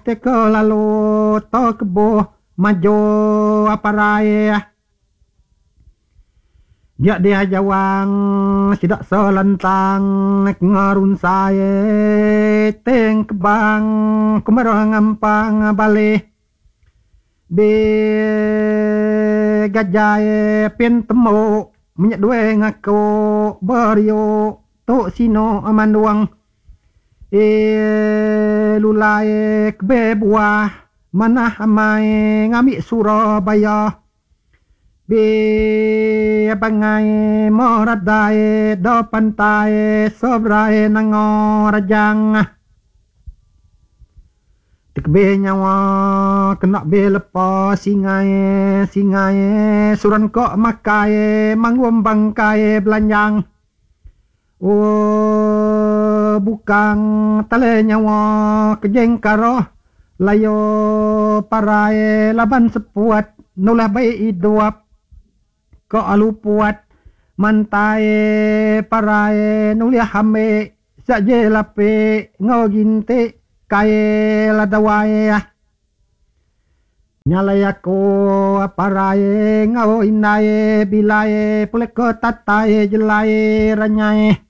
Teka lalu to keboh majo aparai. Dia dih jawang sida selentang ngerunsai teng kebang kemerah ngampang balih be gajai pin tembu menyedui ngaku beriuk tu sinu mandung ee lulai kebe buah manah amai ngambi Surabaya. Be bangai meradai do pantai seberai nanga rajang. Tekebe nyawa kena be lepa singai singai suran ko makai mangum bangkai belanjang. Ooh bukang tale nyawa kejeng karoh layo parai laban sepuat nulah bai idup ko alu puat mantai parai nulih ambi saje lapi enggau ginti kai ladawai. Nya alai aku parai enggau indai bilai pulai ke tatai jelai ranyai.